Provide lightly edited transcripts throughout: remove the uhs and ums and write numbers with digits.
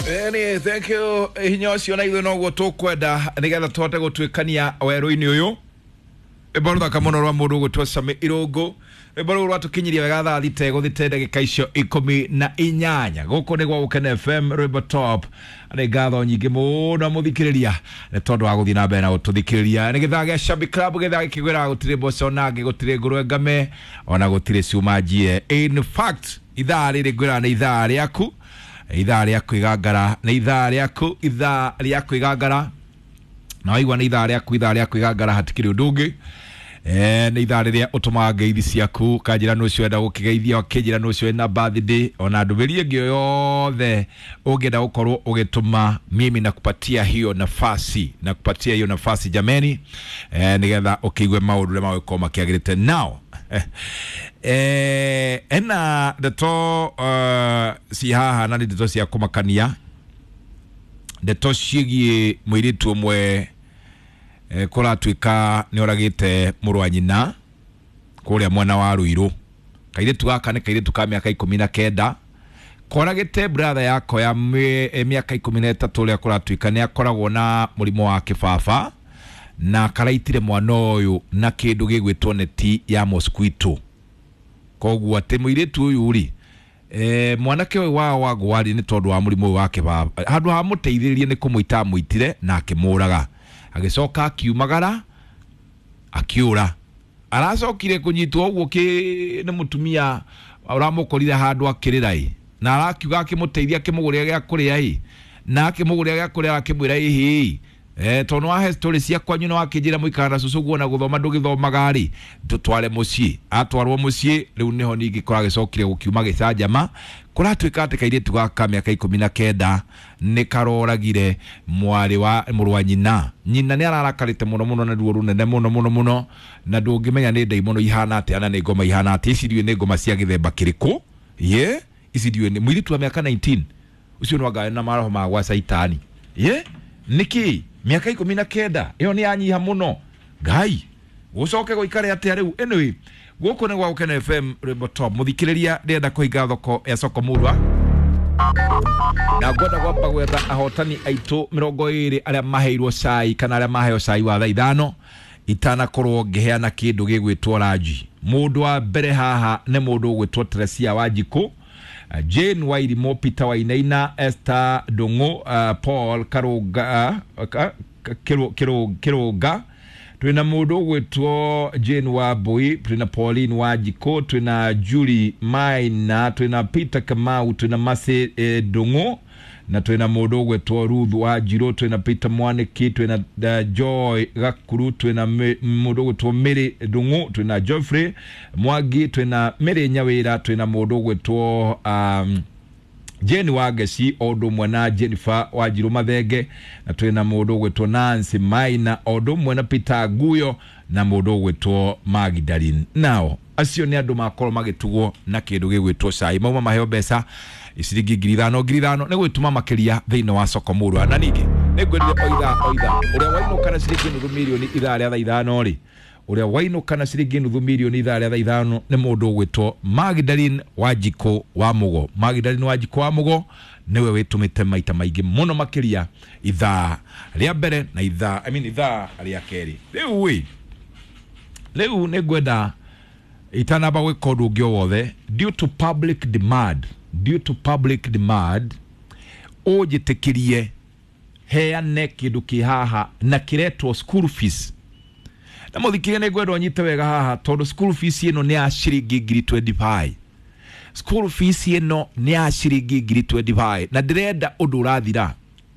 Eni, thank you hinya ũcio na ithuĩ noguo tũkwenda nĩgetha tũhote gũtuĩkania werũ-inĩ ũyũ. Rwĩmbo rũthaka mũno rwa mũndũ ũgwĩtwo Sami Irũngũ, rwĩmbo rũu rwatũkinyirie wega thaa thita ĩgũthĩte ndagĩka icio 18. Gũkũ nĩ gwa Gũkena FM, rwĩmbo top. Nĩ ngatho nyingĩ mũno mũthikĩrĩria nĩ tondũ wa gũthiĩ na mbere na gũtũthikĩrĩria. Nĩ gĩthaa gĩa Shabby Club, gĩthaa gĩkĩgwĩraga gũtirĩ mboco nangĩ, gũtirĩ ngũrwe ngame, ona gũtirĩ cuma njie. In fact, ithaa rĩrĩ ngwĩraga nĩ ithaa rĩaku, ithaa rĩa kwĩgangara, nĩ ithaa rĩaku, ithaa rĩa kwĩgangara. Na waigua nĩ ithaa rĩaku, ithaa rĩa kwĩgangara, hatikĩrĩ ũndũ ũngĩ. Nĩ ithaa rĩrĩa ũtũmaga ngeithi ciaku, kanjĩra nũ ũcio wenda gũkĩgeithia, ũkĩnjĩra nũ ũcio wĩna birthday, ona ndũmĩrĩri ĩngĩ o yothe ũngĩenda gũkorwo ũgĩtũma, mimi nakupatia hiyo nafasi, nakupatia hiyo nafasi jameni, nĩgetha ũkĩigue maũndũ ũrĩa magũkorwo makĩagĩrĩte. Now ena ndeto ci haha na nĩ ndeto cia kũmakania, ndeto ciĩgiĩ mũirĩtu ũmwe kũratuĩka nĩ oragĩte mũrũ wa nyina kũrĩa mwena wa Ruiru. Kairĩtu gaka nĩ kairĩtu ka mĩaka 19, koragĩte brother yako ya mĩaka 13 ũrĩa kũratuĩka nĩ akoragwo na mũrimũ wa kĩbaba, na karaitire mwana ũyũ na kĩndũ gĩgwĩtwo neti ya mosquito. Koguo atĩ mũirĩtu ũyũ rĩ, mwanake ũyũ wao wagwari nĩ tondũ wa mũrimũ ũyũ wa kĩbaba, handũ ha mũteithĩrĩrie nĩ kũmũita amũitire na akĩmũraga, agĩcoka akiumagara akiũra. Aracokire kũnyitwo ũguo nĩ mũtumia ũramũkorire handũ akĩrĩra ĩ, na arakiuga akĩmũteithia akĩmũgũrĩra gĩa kũrĩa ĩ, na akĩmũgũrĩra gĩa kũrĩa akĩmwĩra ĩhĩ, tondũ wahe story cia kwanyu na wakĩnjĩra mũikara na cũcũ guo na gũthoma ndũgĩthomaga rĩ, tũtware mũciĩ. Atwarwo mũciĩ rĩu nĩho ningĩ kũragĩcokire gũkiuma gĩcanjama. Kũratuĩka atĩ kairĩtu gaka mĩaka 19 nĩ karoragire mwarĩ wa mũrũ wa nyina. Nyina nĩ ararakarĩte mũno mũno na ruo rũnene mũno mũno mũno, na ndũngĩmenya nĩ ndaimono ihana atĩa na nĩ ngoma ihana atĩa. Ici ndiũĩ nĩ ngoma cia gĩthemba kĩrĩkũ. Ye, ici ndiũĩ nĩ mũirĩtu wa mĩaka 19 ũcio no anga na maroho ma gwa caitani. Ye, nĩkĩ mĩaka 19 ĩyo nĩ yanyiha mũno. Ngai gũcoke gũikare atĩa rĩu. Anyway, gũkũ nĩ gwa Gũkena FM, rwĩmbo top. Mũthikĩrĩria, ndĩrenda kũhinga thoko ya soko murwa na ngwenda gwamba gwetha ahotani aitũ 20 arĩa maheirwo cai kana arĩa maheo cai wa thaa ithano itanakorwo ngĩheana kĩndũ gĩgwĩtwo ranji. Mũndũ wa mbere haha nĩ mũndũ ũgwĩtwo Teresia Wanjikũ, Jane Wairimu, Peter Wainaina, Esther Ndung'u, Paul Karunga, Kirunga, twina mũndũ ũgwĩtwo Jane Wambui, twina Pauline Wanjikũ, twina Julie Maina, twina Peter Kamau, twina Mercy Ndung'u, na twina mũndũ ũgwĩtwo Ruth Wanjirũ, twina Peter Mwaniki, twina Joy Gakuru, twina mũndũ ũgwĩtwo Mary Ndung'u, twina Geoffrey Mwangi, twina Mary Nyawĩra, twina mũndũ ũgwĩtwo Jane Wangeci o ũndũ ũmwe na Jennifer Wanjirũ Mathenge, na twina mũndũ ũgwĩtwo Nancy Maina o ũndũ ũmwe na Peter Nguyo na mũndũ ũgwĩtwo Magdalene. Nao acio nĩ andũ makorwo magĩtugwo na kĩndũ gĩgwĩtwo cai, mauma maheo mbeca ciringi 5,000 5,000 nĩ gwĩtũma makĩria thĩinĩ wa soko murwa. Na ningĩ nĩ ngwĩrire o ithaa o ithaa ũrĩa wainũka na ciringi nuthu mirioni ithaa rĩa thaa ithano rĩ, ũrĩa wainũka na ciringi nuthu mirioni ithaa rĩa thaa ithano nĩ mũndũ ũgwĩtwo Magdalene Wanjikũ wa Mũgo. Magdalene Wanjikũ wa Mũgo nĩwe wĩtũmĩte maita maingĩ mũno makĩria ithaa rĩa mbere na ithaa, I mean, ithaa rĩa kerĩ. Rĩu ĩ, rĩu nĩ ngwenda itanamba gwĩka ũndũ ũngĩ o wothe, due to public demand, due to public demand, ũnjĩtĩkĩrie heane kĩndũ kĩ haha na kĩretwo school fees. Na mũthikĩria nĩ ngwenda ũnyite wega haha tondũ school fees ĩno nĩ ya ciringi ngiri 25. School fees ĩno nĩ ya ciringi ngiri 25 na ndĩrenda ũndũ ũrathira.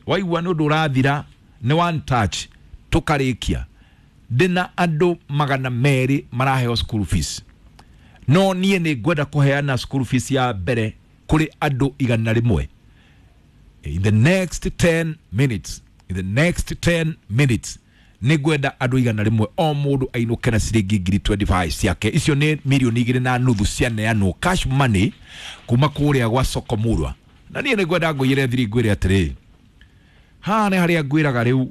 Waigua nĩ ũndũ ũrathira nĩ one touch tũkarĩkia. Ndĩna andũ 200 maraheo school fees, no niĩ nĩ ngwenda kũheana school fees ya mbere kũrĩ andũ 100 in the next 10 minutes. In the next 10 minutes nĩ ngwenda andũ 100 o mũndũ ainũke na ciringi ngiri 25 ciake. Icio nĩ mirioni 2.5 cianeanwo cash money kuma kũrĩa gwa soko murwa. Na niĩ nĩ ngwenda ngũiyĩre thiri ngwĩre atĩrĩ, haha nĩ harĩa ngwĩraga rĩu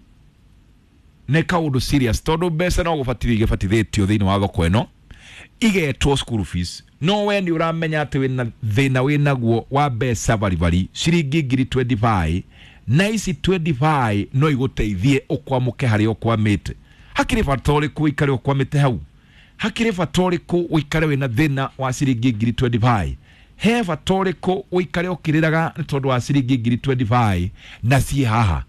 nĩ kaũndũ serious tondũ mbeca no gũbatithio igĩbatithĩtio thĩinĩ wa thoko ĩno. Igetwo school fees. No we nĩ ũramenya atĩ wĩna thĩna wĩnaguo wa mbeca baribari ciringi ngiri 25, na ici 25 no igũteithie ũkwamũke harĩa ũkwamĩte. Hakĩrĩ bata ũrĩkũ ũikare ũkwamĩte hau? Hakĩrĩ bata ũrĩkũ ũikare wĩna thĩna wa ciringi ngiri 25? He bata ũrĩkũ ũikare ũkĩrĩraga nĩ tondũ wa ciringi ngiri 25 na ciĩ haha?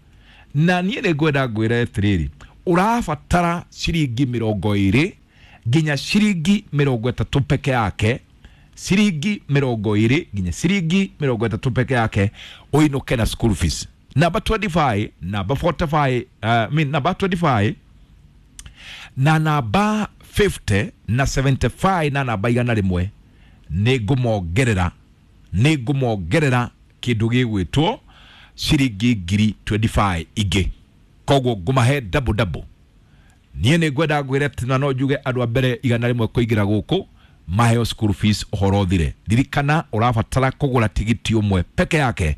Na niĩ nĩ ngwenda ngwĩre atĩrĩrĩ, ũrabatara ciringi 20 nginya ciringi 30 peke yake, ciringi 20 nginya ciringi 30 peke yake ũinũke na school fees. Namba 25, namba 45, namba 25 na namba 50 na 75 na namba 100 nĩ ngũmongerera kĩndũ gĩgwĩtwo ciringi ngiri 25 ingĩ. Koguo ngũmahe double double. Niĩ nĩ ngwenda ngwĩre atĩ na no njuge andũ a mbere 100 kũingĩra gũkũ maheo school fees ũhoro ũthire. Ririkana ũrabatara kũgũra tigiti ũmwe peke yake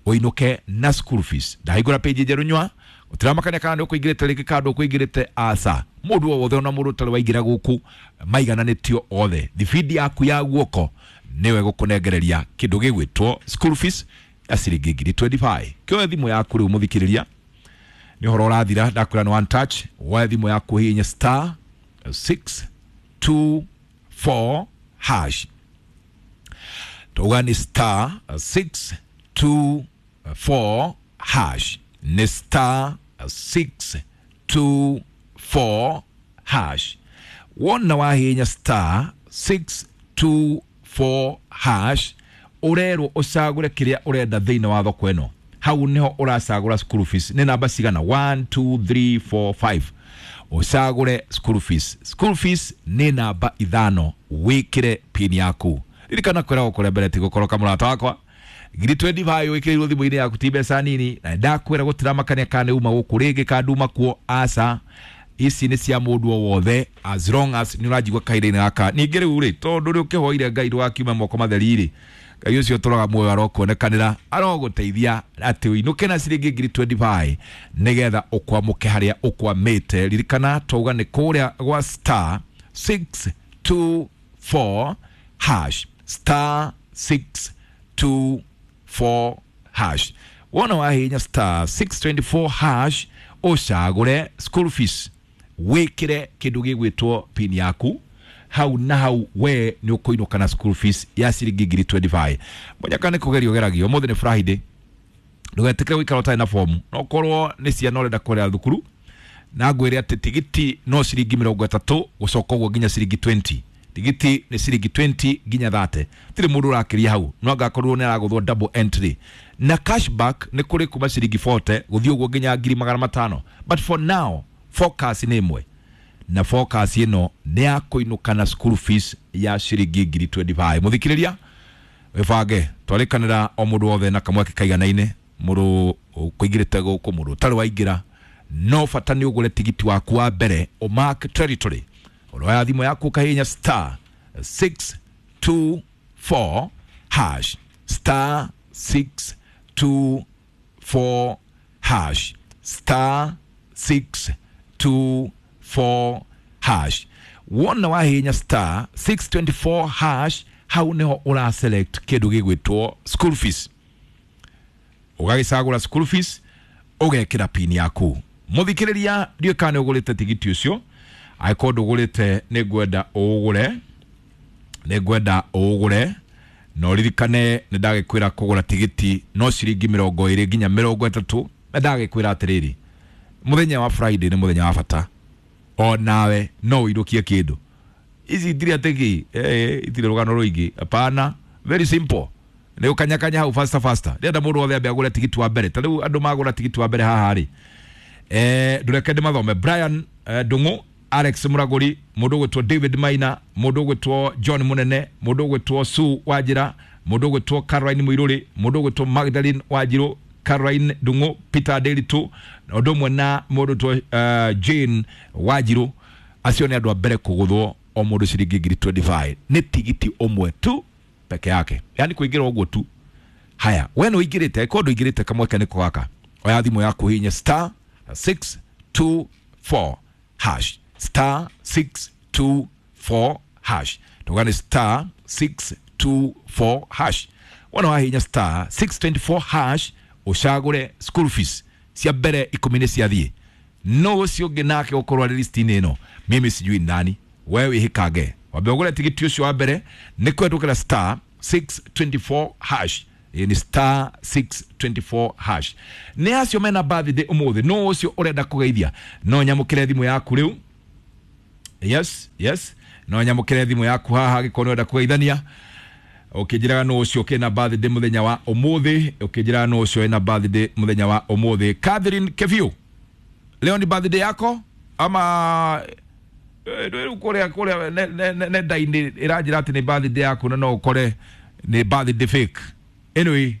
ũinũke na school fees. Ndahingũra page njerũ nyua ũtiramakania kana nĩ ũkũingĩrĩte rĩngĩ kana ndũkũingĩrĩte, aca. Mũndũ o wothe ona mũndũ ũtarĩ waingĩra gũkũ maigananĩtio othe. Thibindi yaku ya guoko nĩwe gũkũnengereria kĩndũ gĩgwĩtwo school fees ya ciringi ngiri 25. Kĩoe thimũ yaku rĩu mũthikĩrĩria, nĩ ũhoro ũrathira, ndakwĩra nĩ one touch. Woe thimũ yaku hihinya star 624 hash. Tauga nĩ star 624 hash, nĩ star 624 hash. Wona wahihinya star 624 hash, ũrerwo ũcagũre kĩrĩa ũrenda thĩinĩ wa thoko ĩno. Hau nĩho ũracagũra school fees. Nĩ namba cigana? 1 2 3 4 5. Ũcagũre school fees. School fees nĩ namba 5, wĩkĩre pin yaku. Ririkana kwĩragwo kũrĩa mbere ti gũkoroka mũrata wakwa. Ngiri 25 wĩkĩrĩirwo thimũ-inĩ yaku ti mbeca nini, na ndakwĩra gũtiramakania kana nĩ uma gũkũ rĩngĩ kana nduma kuo, aca. Ici nĩ cia mũndũ o wothe as long as nĩ ũranjigua kahinda-inĩ gaka. Ningĩ rĩu rĩ, tondũ rĩ ũkĩhoire Ngai ndũgakiume moko matheri rĩ, Ngai ũcio ũtũraga muoyo arokuonekanĩra, arogũteithia atĩ ũinũke na ciringi ngiri 25 nĩgetha ũkwamũke harĩa ũkwamĩte. Ririkana twauga nĩ kũrĩa gwa star 624 hash, star 624 hash. Wona wahihinya star 624 hash ũcagũre school fees, wĩkĩre kĩndũ gĩgwĩtwo pin yaku. Hau na hau we nĩ ũkũinũka na school fees ya ciringi ngiri 25. Mũnyaka nĩ kũgerio geragio, ũmũthĩ nĩ Friday, ndũgetĩkĩre gũikara ũtarĩ na fomu. No korwo nĩ ciana ũrenda kũrĩha thukuru, na ngwĩre atĩ tigiti no ciringi 30 gũcoka ũguo nginya ciringi 20. Tigiti nĩ ciringi 20 nginya 30. Tirĩ mũndũ ũrakĩria hau, no angakorwo nĩ aragũthwo double entry. Na cashback nĩ kũrĩ kuma ciringi 40 gũthiĩ ũguo nginya ngiri 500. But for now focus nĩ ĩmwe, na focus ĩno nĩ ya kũinũka na school fees ya ciringi ngiri 25. Mũthikĩrĩria wĩbange, twarĩkanĩra o mũndũ wothe na kamweke kaiganaine, mũndũ ũkũingĩrĩte gũkũ, mũndũ ũtarĩ waingĩra, no bata nĩ ũgũre tigiti waku wa mbere ũmark territory. Ũroya thimũ yaku ũkahihinya star 624 hash, star 624 hash, star 624 hash. Wona wahihinya star 624 hash, hau nĩho ũra select kĩndũ gĩgwĩtwo school fees. Ũgagĩcagũra school fees, ũgekĩra pin yaku. Mũthikĩrĩria, ndiũĩ kana nĩ ũgũrĩte tigiti ũcio. Angĩkorwo ndũgũrĩte nĩ ngwenda ũũgũre, nĩ ngwenda ũũgũre. Na ũririkane nĩ ndagĩkwĩra kũgũra tigiti no ciringi 20 nginya 30. Na ndagĩkwĩra atĩrĩrĩ, mũthenya wa Friday nĩ mũthenya wa bata, o nawe no ũinũkie kĩndũ. Ici itirĩ atĩ kĩ, itirĩ rũgano rũingĩ, hapana, very simple. Nĩ ũkanyakanya hau faster faster. Ndĩrenda mũndũ wothe ambe agũre tigiti wa mbere. Ta rĩu andũ magũra tigiti wa mbere haha rĩ, ndũreke ndĩmathome. Brian Ndung'u, Alex Muraguri, mũndũ ũgwĩtwo David Maina, mũndũ ũgwĩtwo John Munene, mũndũ ũgwĩtwo Sue Wanjira, mũndũ ũgwĩtwo Caroline Muiruri, mũndũ ũgwĩtwo Magdalene Wanjiru, Caroline Ndung'u, Peter Nderitu, na ũndũ ũmwe na mũndũ ũgwĩtwo Jane Wanjiru. Acio nĩ andũ a mbere kũgũthwo o mũndũ ciringi ngiri 25. Nĩ tigiti ũmwe tu peke yake, yani kũingĩra ũguo tu. Haya, we nĩ ũingĩrĩte, angĩkorwo ndũingĩrĩte kamweke nĩko gaka. Oya thimũ yaku hihinya star 624 hash, star 624 hash. Tugane star 624 hash. Wona wahinya star 624 hash ucagure school fees cia mbere 10 nĩ ciathiĩ. No ũcio ũngĩ nake ũkorwo arĩ list-inĩ ĩno, mimi sijui nani, wewe wĩhĩkange wambe ũgũre tigiti ũcio wa mbere nĩ kũhetũkĩra star 624 hash. Ĩĩ nĩ star 624 hash. Nĩ acio mena birthday ũmũthĩ, no ũcio ũrenda kũgeithia no nyamũkĩre thimũ yaku rĩu. Yes, yes, no nyamũkĩre thimũ yaku haha angĩkorwo nĩ ũrenda kũgeithania. Ũkĩnjĩraga no ũcio kĩna birthday mũthenya wa ũmũthĩ, ũkĩnjĩraga no ũcio ena birthday mũthenya wa ũmũthĩ. Catherine Keviu, leo ni birthday yako ama rĩu kũrĩa nenda-inĩ ĩranjĩra atĩ nĩ birthday yaku na no ũkore nĩ birthday fake. Anyway,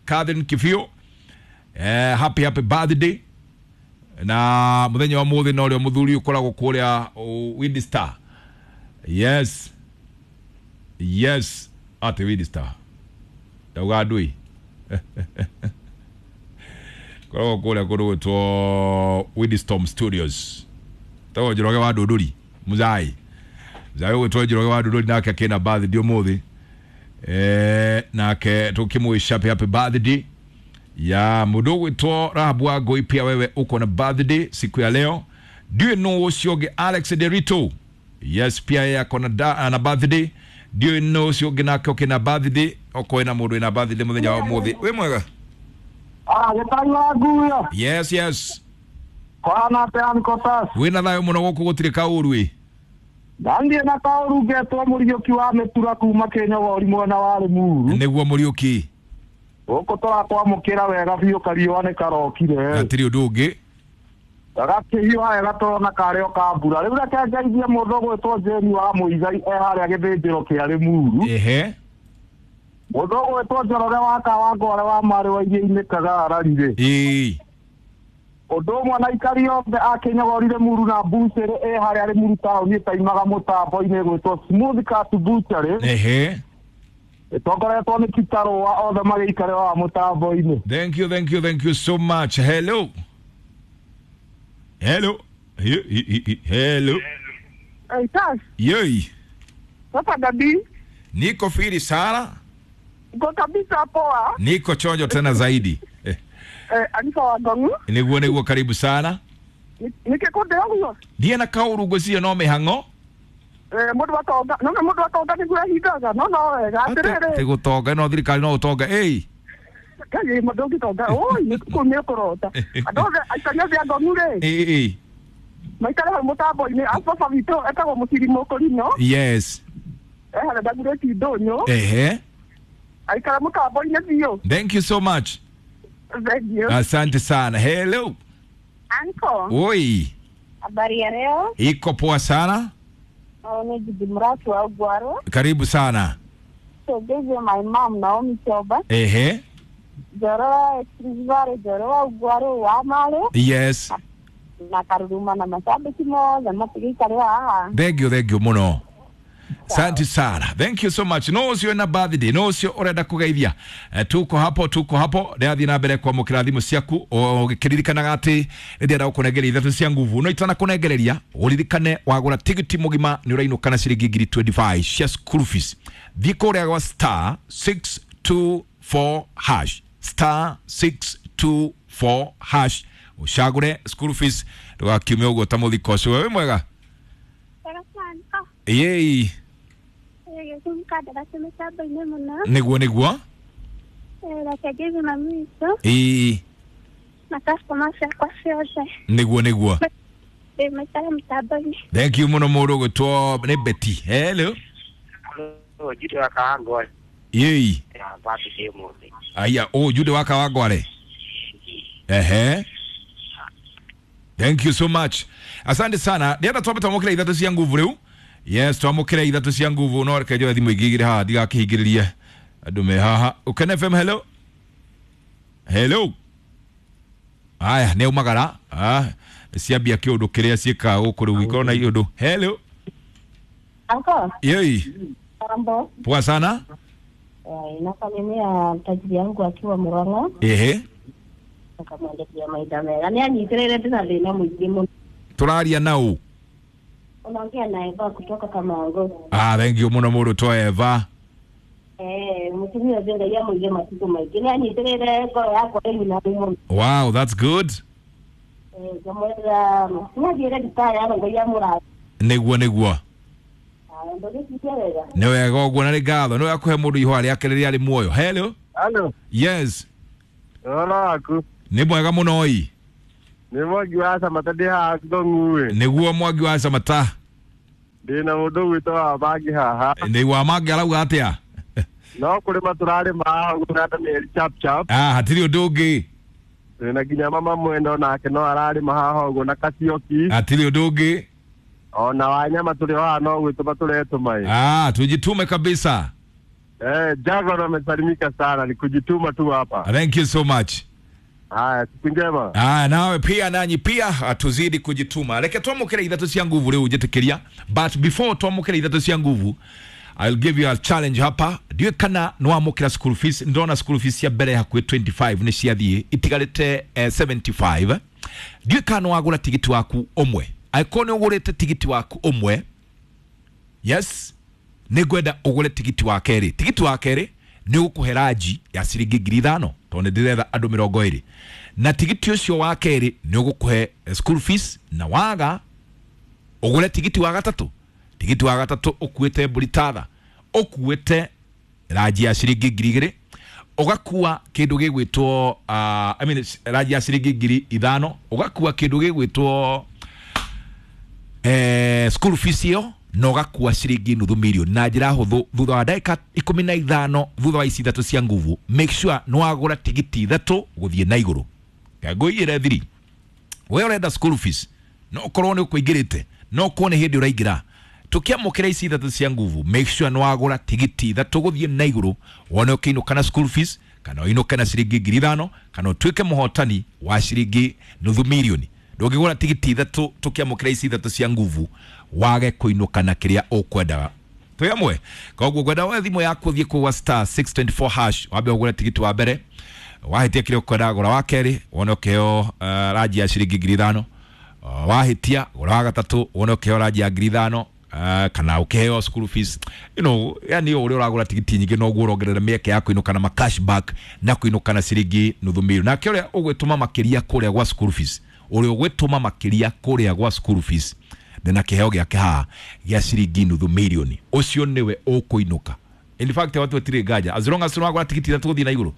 Catherine Kibiu, happy happy birthday. Na mũthenya wa mũthĩ no rĩo mũthuri ũkoragwo kũrĩa Wind Star. Yes, yes, atĩ Wind Star ndauga ndui koragwo kũrĩa kũndũ gwĩtwo Windstorm Studios. Tagwo Njoroge wa Ndũndũri, Muzai Muzai ũgwĩtwo Njoroge wa Ndũndũri nake akĩna birthday ũmũthĩ. Nake tukimwisha happy happy birthday ya mũndũ ũgwĩtwo Rahabu wa Ngũi, pia wewe uko na birthday siku ya leo. Ndiũĩ nũ ũcio ũngĩ Alex Derito, yes, pia yeye ako na birthday. Ndiũĩ nũ ũcio ũngĩ nake ũkĩna birthday, okorwo ĩna mũndũ ĩna birthday mũthenya wa ũmũthĩ. Wĩ mwega? Gĩtai wa nguo. Yes, yes. Kwana atĩa Nkotas? Wĩna thayũ mũno gũkũ gũtirĩ kaũru ĩ. Ndandiĩ na kaũru ngetwo Mũriũki wa Mĩtura kuma Kĩnyogori mwena wa Rĩmuru. Nĩguo Mũriũki. Gũkũ tũrakwamũkĩra wega biũ, kariũa nĩ karokire. Hatirĩ ũndũ ũngĩ. Gagakĩhiũha wega tũrona karĩ o ka mbura. Rĩu reke ngeithie mũndũ ũgwĩtwo Jane wa Mũigai e harĩa gĩthĩnjĩro kĩa Rĩmuru. Ehe. Mũndũ ũgwĩtwo Njoroge wa Kawangware wa Marĩ wa Iria-inĩ Kagarari rĩ. Ĩĩ. Ũndũ ũmwe na aikari othe a Kĩnyogori Rĩmuru na Mbucĩrĩ ĩ harĩa Rĩmuru taũni ĩtaimaga mũtambo-inĩ ĩgwĩtwo Smooth Cut Butchery. Ehe. Ĩtongoretwo nĩ Kitarũa, othe magĩikare wa mũtambo-inĩ. Thank you, thank you, thank you so much. Hello. Hello. Hello. Hey, Tash. Yei. Sasa Gabi. Niko firi sana. Uko kabisa poa. Niko chonjo tena zaidi. Anifa wa Ngongu. Niguo niguo, karibu sana. Nikikude ũguo. Ndiĩ na kaũru ngwĩciria no mĩhang'o. Mũndũ atonga, no mũndũ atonga nĩguo ehingaga, no no wega atĩrĩrĩ. Atĩ gũtonga no thirikari no ũtonga ĩĩ. Kaĩ mũndũ ũngĩtonga, oi nĩ nĩ ũkũrota. Andũ othe aikari othe a Ngongu rĩ. Ĩĩ. Maikare hau mũtambo-inĩ, a baba witũ etagwo Mũciri Mũkũrinũ. Yes. Harĩa ndagurĩti ndũnyũ. Ehe. Aikare mũtambo-inĩ biũ. Thank you so much. Thank you. Asante sana. Hello. Anko. Oi. Habari ya leo? Iko poa sana. Ni Judy Muratu wa Ugwaro. Karibu sana. So this is my mom Naomi Choba. Ehe. Joroa Expressway, Joroa Ugwaro wa Male. Yes. Na karuruma na mashabiki mothe matigikare haha. Thank you, thank you muno. Asante sana. Thank you so much. No ũcio na birthday, no ũcio ũrenda kũgeithia. Tuko hapo, tuko hapo. Ndĩrathiĩ na mbere kwamũkĩra thimũ ciaku ũgĩkĩririkanaga atĩ nĩndĩrenda gũkũnengeria ithatũ cia nguvu. No itanakũnengereria, ũririkane wagũra tigiti mũgima nĩ ũrainũka na ciringi ngiri 25 cia school fees. Thiĩ kũrĩa gwa star 624 hash. Star 624 hash. Ũcagũre school fees ndũgakiume ũguo ta mũthiko ũcio. Wĩ mwega? Yei. Niguo niguo. Ĩĩ. Niguo niguo. Thank you muno mũndũ ũgwĩtwo nĩ Betty. Hello. Hello, Jude wa Kawangware. Yei. Aya, oh Jude wa Kawangware. Ehe. Thank you so much. Asante sana. Ndĩrenda twambe twamũkĩre ithatũ cia nguvu rĩu. Yes, twamũkĩre ithatũ cia nguvu no reke njoe thimũ ingĩ igĩrĩ haha ndigakĩhingĩrĩrie andũ me haha. Ukene FM, hello. Hello. Aya, nĩ umagara. Ah, ciambia kĩũndũ kĩrĩa ciĩkaga gũkũ rĩu ikorwo na iũndũ. Hello. Anko. Yei. Mambo. Poa sana. Nasalimia tajiri yangu akiwa Murang'a. Ehe. Akamwandikia maitha mega. Nĩ anyitĩrĩire ndĩna thĩna mũingĩ mũno. Tũraria na ũ? Unaongea na Eva kutoka Kamango. Ah, thank you muno mũndũ to Eva. Mũtumia ũcio Ngai amũige matukũ maingĩ. Nĩ anyitĩrĩire ngoro yakwa ĩu na mũno. Wow, that's good. Ngamwĩra nĩathiĩre thibitarĩ ano Ngai amũrathime. Nĩguo nĩguo. Ndũgĩcirie wega. Nĩ wega ũguo na nĩ ngatho. Nĩ wega kũhe mũndũ ihũa rĩake rĩrĩa arĩ muoyo. Hello. Halo, Yes. ũhoro waku? Nĩ mwega mũno ĩ. Nĩ Mwangi wa Samata ndĩ haha Ngong'u-ĩ. Nĩguo Mwangi wa Samata. Ndĩ na mũndũ ũgwĩtwo wa Bangi haha. Nĩ wa Mangi arauga atĩa? No kũrĩma tũrarĩma haha ũguo na Daniel chap chap. Ah, hatirĩ ũndũ ũngĩ. Twĩna nginya mama mwendo nake no ararĩma haha ũguo na Kasioki. Hatirĩ ũndũ ũngĩ. Ona wanyama tũrĩ o haha no gwĩtũma tũretũma ĩ. Ah, tujitume kabisa. Jaguar amesalimika sana, ni kujituma tu hapa. Thank you so much. Haya, siku njema. Ah, nawe pia nanyi pia tuzidi kujituma. Reke twamũkĩre ithatũ cia nguvu rĩu njĩtĩkĩria. But before twamũkĩre ithatũ cia nguvu, I'll give you a challenge hapa. Ndiũĩ kana nĩwamũkĩra school fees. Ndona school fees cia mbere hakuhĩ 25 nĩ ciathiĩ itigarĩte 75. Ndiũĩ kana nĩwagũra tigiti waku ũmwe. Angĩkorwo nĩ ũgũrĩte tigiti waku ũmwe, yes, nĩngwenda ũgũre tigiti wa kerĩ. Tigiti wa kerĩ nĩ ũgũkũhe ranji ya ciringi 5,000 tondũ nĩ ndĩretha andũ 20. Na tigiti ũcio wa kerĩ nĩ ũgũkũhe school fees, na waga ũgũre tigiti wa gatatũ. Tigiti wa gatatũ ũkuĩte mbũri tatha, ũkuĩte ranji ya ciringi 2,000, ũgakua kĩndũ gĩgwĩtwo I mean, ranji ya ciringi 5,000, ũgakua kĩndũ gĩgwĩtwo school fees ĩyo, na ũgakua ciringi nuthu milioni na njĩra hũthũ thutha wa ndagĩka 15 thutha wa ici ithatũ cia nguvu. Make sure nĩ wagũra tigiti ithatũ gũthiĩ na igũrũ. Ngũigĩre thiri we ũrenda school fees, no ũkorwo nĩ ũkũingĩrĩte, no ũkorwo nĩ hĩndĩ ũraingĩra. Tũkĩamũkĩra ici ithatũ cia nguvu, make sure nĩ wagũra tigiti ithatũ gũthiĩ na igũrũ, wone ũkĩinũka na school fees, kana ũinũke na ciringi 5,000, kana ũtuĩke mũhotani wa ciringi nuthu milioni. Ndũngĩgũra tigiti ithatũ tũkĩamũkĩra ici ithatũ cia nguvu wage kũinũka na kĩrĩa ũkwendaga. Twĩ amwe. Koguo ngwenda woe thimũ yaku ũthiĩ kũu star 624 hash, wambe ũgũre tigiti wa mbere, wahĩtia kĩrĩa ũkwendaga gũra wa kerĩ, wone ũkĩheo ranji ya ciringi 5,000. Wahĩtia gũra wa gatatũ, wone ũkĩheo ranji ya 5,000, kana ũkĩheo school fees. You know, yani ũrĩa ũragũra tigiti nyingĩ noguo ũrongerera mĩeke ya kũinũka na ma cashback na kũinũka na ciringi nuthu milioni. Nake ũrĩa ũgwĩtũma makĩria kũrĩa gwa school fees, ũrĩa ũgwĩtũma makĩria kũrĩa gwa school fees ndĩna kĩheo gĩake haha gĩa ciringi nuthu milioni, ũcio nĩwe ũkũinũka. In fact, watu hatirĩ nganja, as long as wagũra tigiti ithatũ gũthiĩ na igũrũ,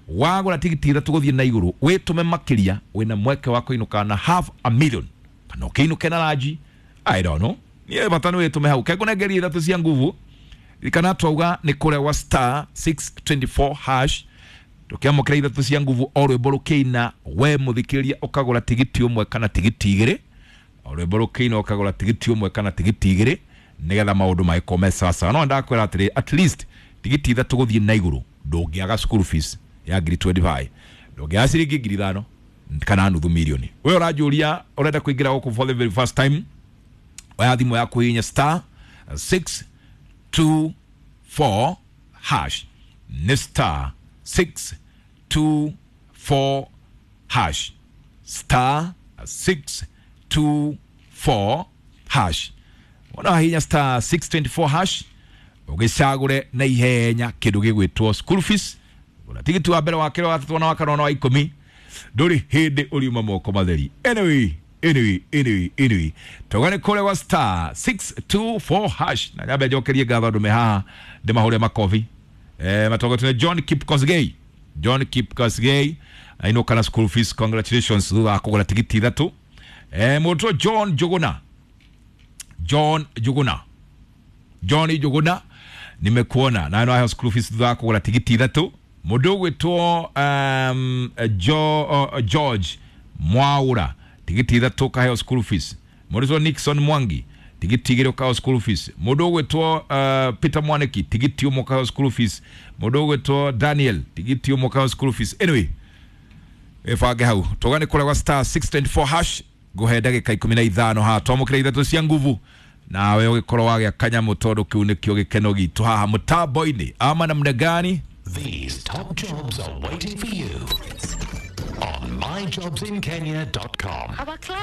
wagũra tigiti ithatũ gũthiĩ na igũrũ, wĩtũme makĩria, wĩna mweke wa kũinũka na half a million, kana ũkĩinũke na ranji, I don't know. Niĩ bata nĩ wĩtũme hau. Kengũnengeria ithatũ cia nguvu, kana twauga nĩ kũrĩa gwa star 624 hash. Tũkĩamũkĩra ithatũ cia nguvu o rwĩmbo rũkĩina, we mũthikĩrĩria ũkagũra tigiti ũmwe kana tigiti igĩrĩ. O rwĩmbo rũkĩina ũkagũra tigiti ũmwe kana tigiti igĩrĩ, nĩgetha maũndũ magĩkorwo me sawasawa. No ndakwĩra atĩrĩ, at least tigiti ithatũ gũthiĩ na igũrũ ndũngĩaga school fees ya 25,000, ndũngĩaga ciringi 5,000 kana nuthu milioni. We ũranjũria ũrenda kũingĩra gũkũ for the very first time, oya thimũ yaku hihinya star 624 hash. Nĩ star 624 hash, star 624 hash. Wona hinya star 624 hash ũgĩcagũre na ihenya kĩndũ gĩgwĩtwo school fees. Gũra tigiti wa mbere, wa kerĩ, wa gatatũ na wa kana na wa 10, ndũrĩ hĩndĩ ũriuma moko matheri. Anyway, tauga nĩ kũrĩa gwa star 624 hash. Na nyambe njokerie ngatho andũ me haha ndĩmahũre makobi. Matongoretio nĩ John Kipkosgei. John Kipkosgei ainũka na school fees, congratulations thutha wa kũgũra tigiti ithatũ. Mũndũ John Njuguna, John Njuguna, John Njuguna, nimekuona na no school fees thutha wa kũgũra tigiti ithatũ. Mũndũ ũgwĩtwo George Mwaura, tigiti ithatũ kaheo school fees. Mũndũ ũgwĩtwo Nixon Mwangi, tigiti igĩrĩ ũkaheo school fees. Mũndũ ũgwĩtwo Peter Mwaniki, tigiti ũmwe ũkaheo school fees. Mũndũ ũgwĩtwo Daniel, tigiti ũmwe ũkaheo school fees. Anyway, ĩbange hau tũgane kũrĩa gwa star 624 hash. Ngũhe ndagĩka 15 haha twamũkĩra ithatũ cia nguvu, nawe ũgĩkorwo wagĩa kanyamũ tondũ kĩu nĩkĩo gĩkeno gitũ haha mũtambo-inĩ. Ama namna gani? These top jobs are waiting for you on myjobsinkenya.com.